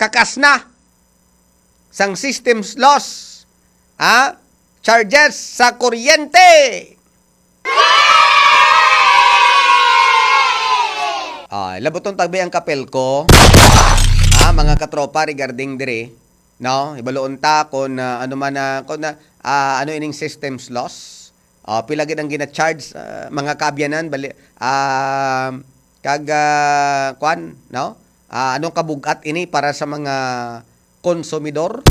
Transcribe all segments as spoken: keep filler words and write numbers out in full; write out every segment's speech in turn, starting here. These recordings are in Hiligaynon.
kakas na sang systems loss, ah, charges sa kuryente. Ah, labuton tagbi ang kapel ko. Ah, mga katropa, regarding diri, no? Ibaluon ta kung, ah, ano man na, kung na, ah, ano ining systems loss. Ah, pila gid ang gina-charge, ah, mga kaabyanan, bali, ah, kag, ah, kwan, no? Ah, anong kabug-at ini para sa mga konsumidor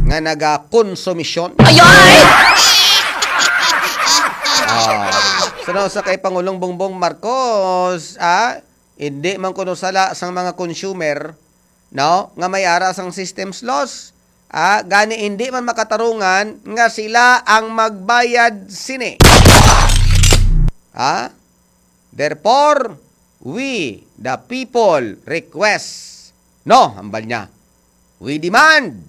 nga nagakonsumisyon? Ay, ay! Ah, so, na sa kay Pangulong Bongbong Marcos, ah, hindi man kuno sala sang mga consumer, no, nga may ara sang systems loss. Ah, gani hindi man makatarungan nga sila ang magbayad sini. Ha? Therefore, we, the people, request, no, hambal niya, we demand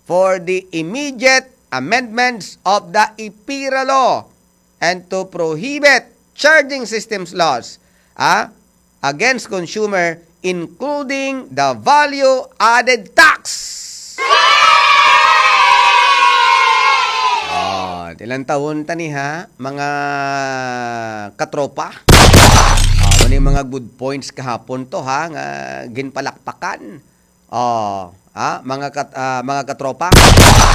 for the immediate amendments of the IPIRA law and to prohibit charging systems laws, ah, against consumer, including the value-added tax. Oh, ilang taon tani ha, mga katropa? Ah, mao ni mga good points kahapon to ha, nga ginpalakpakan. Oh, ha, mga kat-, ah, mga katropa.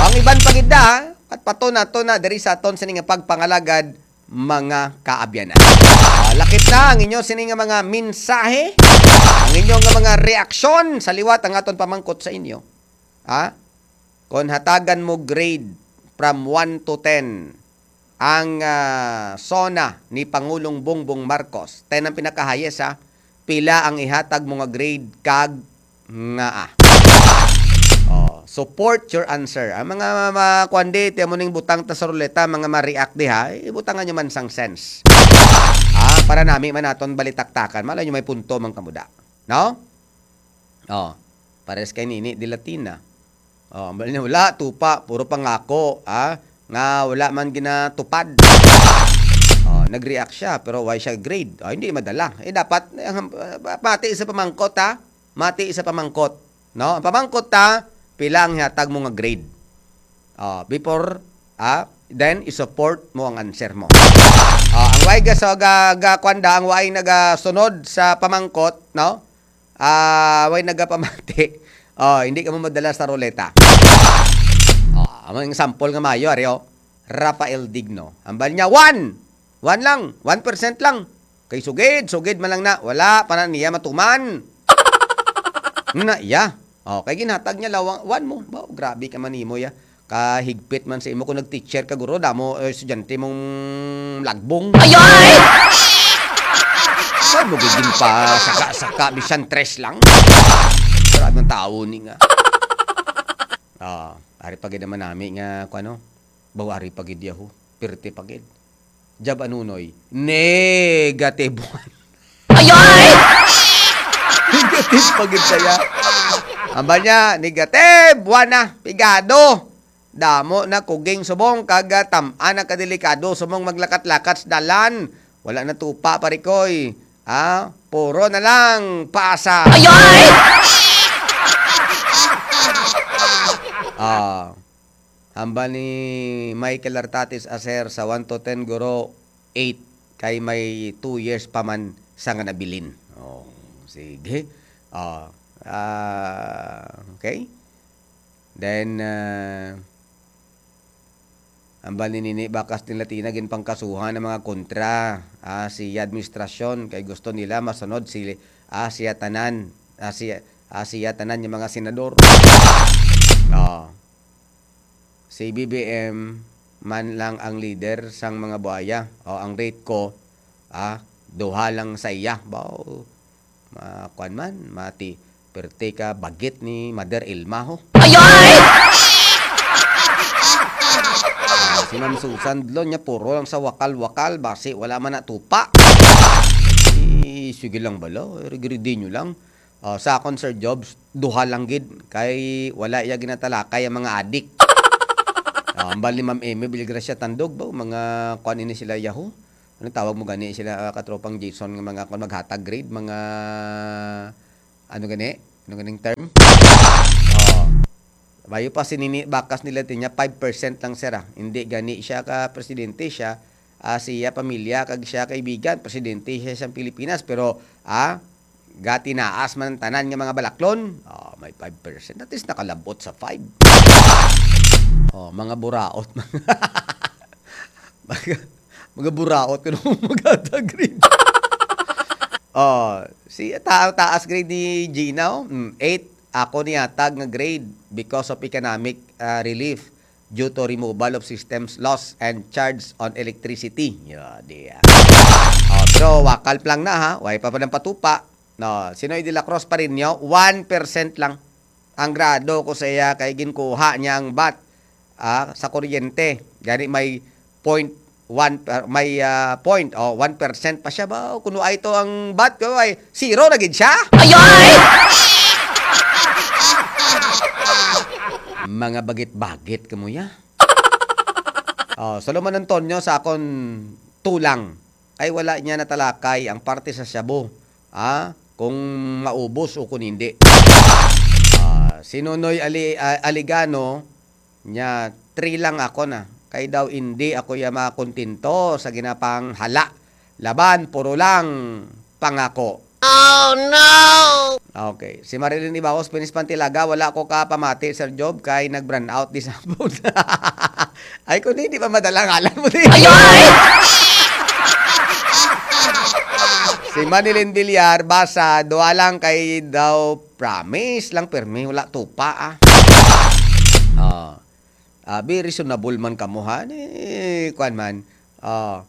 Ang iban pa gid na, ha? At pato na to na diri sa aton sini nga pagpangalagad, mga kaabyanan. Ah, lakip na ang inyo sini nga mga mensahe, ang inyo nga mga reaksyon sa liwat ang aton pamangkot sa inyo. Ha? Kon hatagan mo grade from one to ten ang, ah, SONA ni Pangulong Bongbong Marcos, ten ang pinaka-highest, ha? Pila ang ihatag mo nga grade kag nga, ah? Oh, support your answer. Ang mga ma-, kuwan di, tiyan mo ning butang ta sa ruleta, mga ma-react di, ha? Ibutangan nyo man sang sense. Ah, para nami man naton balitaktakan. Malay nyo may punto man kamuda. No? Oh, pares kay Nini de Latina. Oh, ambal niya, wala, tupa, puro pangako, ah, nga wala man ginatupad. Oh, nag-react siya, pero why siya grade? Oh, hindi madala. Eh, dapat, eh, ang, ah, mati sa pamangkot, ha? Mati sa pamangkot. No? Ang pamangkot, ha? Pila ang hatag mo nga grade? Oh, before, ah, then i-support mo ang answer mo. Oh, ang way ga, so, ga, ga, kwan da, ang way nagasunod sa pamangkot, no? Ah, way nagapamati. Oh, hindi ka mo madala sa ruleta. Oh, ang sample nga mayo, ari, oh. Rafael Digno. Ambal niya, one! One lang. One percent lang. Kay sugid, sugid man lang na. Wala pa na niya matuman. Na iya. Oh, kay ginhatag niya lawang, one mo. Ba, grabe ka man nimo, ya. Kahigpit man sa imo kung nag-teacher ka, guro, damo, eh, estudyante mong lagbong. Ay, ay! Saan mo gigin pa saka-saka, bisan tres lang? Grabe ang tao ni nga. Ah, ari pa gid naman nami nga, kung ano, baw ari pa gid yaho, pirti pa gid. Jab Anunoy, negative one. Ay, ay! Negative pa gid saya. Ambal niya, negative one na, pigado. Damo na kuging subong kag, ah, tam-an na kadelikado subong maglakat-lakat sa dalan. Wala na tupa, parikoy. Ah, puro na lang paasa. Ay, ay! Ah, hambal ni Michael Artatis Aser sa one to ten, guro, eight, kay may two years pa man sa nga nabilin. Oh, sige. Ah, ah, okay. Then, ah, hambal ni Nini Bakas ni Latina, ginpangkasuhan ang mga kontra, ah, si administrasyon kay gusto nila masunod si, ah, siya tanan, ah, si, ah, siya tanan yung mga senador. Ah, si B B M man lang ang leader sang mga buaya. O, ang rate ko, ah, duha lang sa iya. Bao, ma-, kwan man, mati, perte ka, bagit ni Mother Ilma, ho. Ay, ay! Ah, si Ma'am Susan Dlon niya, puro lang sa wakal-wakal, basi wala man natupa. Eh, sige lang bala, regridi nyo lang. Oh, sa akon, Sir Jobs, duha lang gid, kay wala iya ginatalakay ang mga adik. Ah, hambal ni Ma'am Amy Villagracia Tandog, ba, mga kwan ini sila, yaho. Ano tawag mo gani sila, ah, katropang Jason, nga mga kwan, maghatag grade, mga, ano gani? Ano ganing term? Oh. Bayo pa si Nini Bakas nila, tinya five percent lang, sir, ah. Hindi gani siya ka presidente, siya, ah, siya pamilya kag siya kaibigan, presidente siya sa Pilipinas, pero, ah, gatinaas man ang tanan nga mga balaklon. Oh, may five percent. At least nakalabot sa five. Oh, mga buraot. Mga, mga buraot ko nung mag-grade. Oh, si ta taas grade ni Gina, oh. Mm, eight ako ni atag nga grade because of economic, ah, relief due to removal of systems loss and charge on electricity. Yeah, di, ah. Oh, pero wakal pa lang na, ha. Way pa pa ng patupa. No, Sinoy de la Cruz pa rin nyo, one percent lang. Ang grado ko sa iya kay ginkuha niya ang bat, ah, sa kuryente. Gani may point one, ah, may, ah, point, oh, one percent pa siya ba? Kuno ay to ang bat ko ay zero na gid siya. Ayoy! Mga bagit-bagit kamo ya. Oh, Solomon Antonio sa akon tulang. Ay wala niya natalakay ang parte sa shabu, ah, kung maubos o kung hindi. Ah, si Nonoy Ali-, ah, Aligano, niya, three lang ako na. Kay daw hindi ako ya makontento sa ginapanghala. Laban, puro lang pangako. Oh, no! Okay. Si Marilyn Ibaos, Pinis Pantilaga, wala ko ka pamati, Sir Job, kay nag-brownout di sa hapon. Ay, kung hindi pa madala ngalan mo, di. Ayoy! Si Manilyn Villar, basa, duha lang kay daw promise lang, permi, wala tupa, ah. Oh. Ah, be reasonable man kamo, ha? Ni, kuwan man. Oh.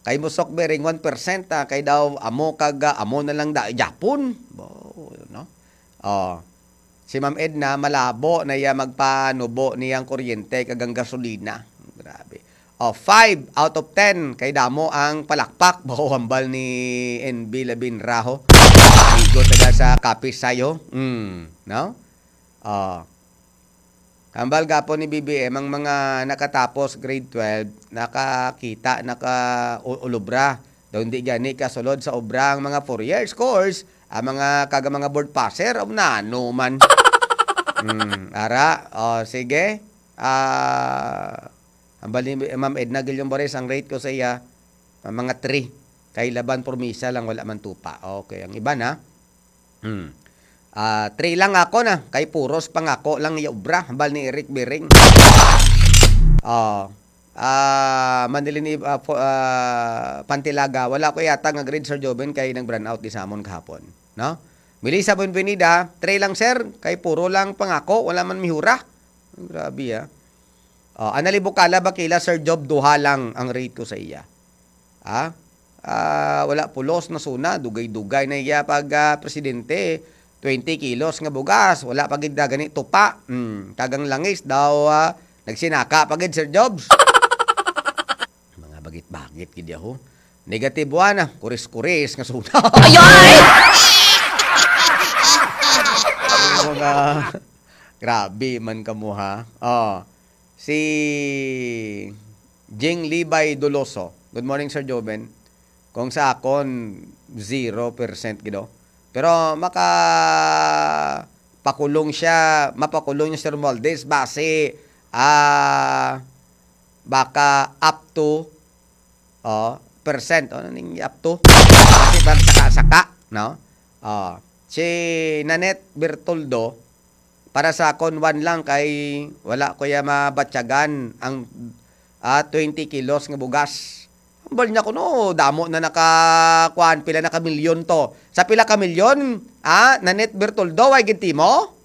Kay musok bering one percent, ah, kay daw amo kag, ah, amo na lang da, Japon. Bo, no? Oh. Si Ma'am Edna, malabo na iya magpanubo niyang kuryente kag ang gasolina. Grabe. Oh, five out of ten kay damo ang palakpak. Bo, hambal ni N B Labinraho. Amigo taga sa Capiz Sayo. Mm, no? Oh. Hambal gapon ni B B M, ang mga nakatapos grade twelve, nakakita, naka-, u-, ulubra. Daw hindi gani kasulod sa obra ang mga four years course, ang mga kaga mga board passer, o nano man. Hmm, ara, o, sige. Ah, hambal ni Ma'am Edna Guillon Bores, ang rate ko sa iya, ah, mga three. Kay laban promisa lang, wala man tupa. Okay, ang iba na. Hmm. Ah, three lang ako na, kay puros pangako lang iya obra, hambal ni Eric Bering. Oh. Ah, Manilin Ib-, ah, fo-, ah, Pantilaga, wala ko yata nga grade, Sir Joven, kay nag-brownout di sa amon kahapon, no? Melissa Buenvenida, three lang, sir, kay puro lang pangako, wala man mihura. Grabe, ah. Oh, Anali Bukala, Bakila, Sir Job, duha lang ang rate ko sa iya. Ah? Ah, wala pulos na suna, dugay-dugay na iya pag, ah, presidente. Twenty kilos nga bugas, wala pa gid na gani tupa. Hmm, kag ang langis daw, ah, nagsinaka pa gid, Sir Jobs. Mga bagit-bagit gid yaho. Negative one, ah, kuris-kuris nga suna. Ayoy! Mga grabe man kamo, ha. Oh. Si Jing Libay Doloso. Good morning, Sir Joven. Kung sa akon, zero percent gid, oh. Pero maka pakulong siya, mapakulong niya si Romualdez base, ah, baka up to, oh, percent, oh, ning up to. Base bang saka-saka, no? Oh. Si Nanette Bertoldo, para sa akon, one lang kay wala ko ya mabatyagan ang, ah, twenty kilos nga bugas. Hambal niya kuno, damo na naka, kuan, pila na ka milyon to. Sa pila ka milyon, ah, Nanette Bertoldo, way gintimo?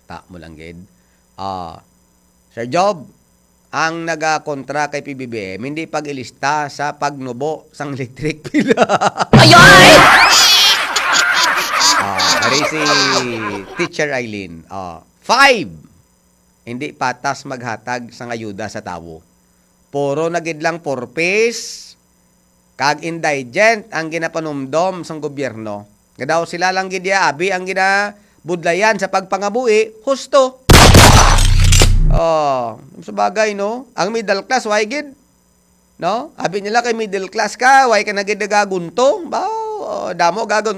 Ta mo lang gid. Ah, Sir Job, ang nagakontra kay P B B M, hindi pag-ilista sa pagnubo sang electric bill. Ayoy! Ah, ari si Teacher Eileen. Ah, five, hindi patas maghatag sang ayuda sa tawo. Puro na gid lang purpis kag indigent ang ginapanumdom sang gobyerno. Nga daw sila lang gid iya abi ang ginabudlayan sa pagpangabuhi, husto. Oh, sa bagay, no? Ang middle class, way gid. No? Abi nila kay middle class ka, way ka na gid nagagunto. Ba, oh, damo gagun-,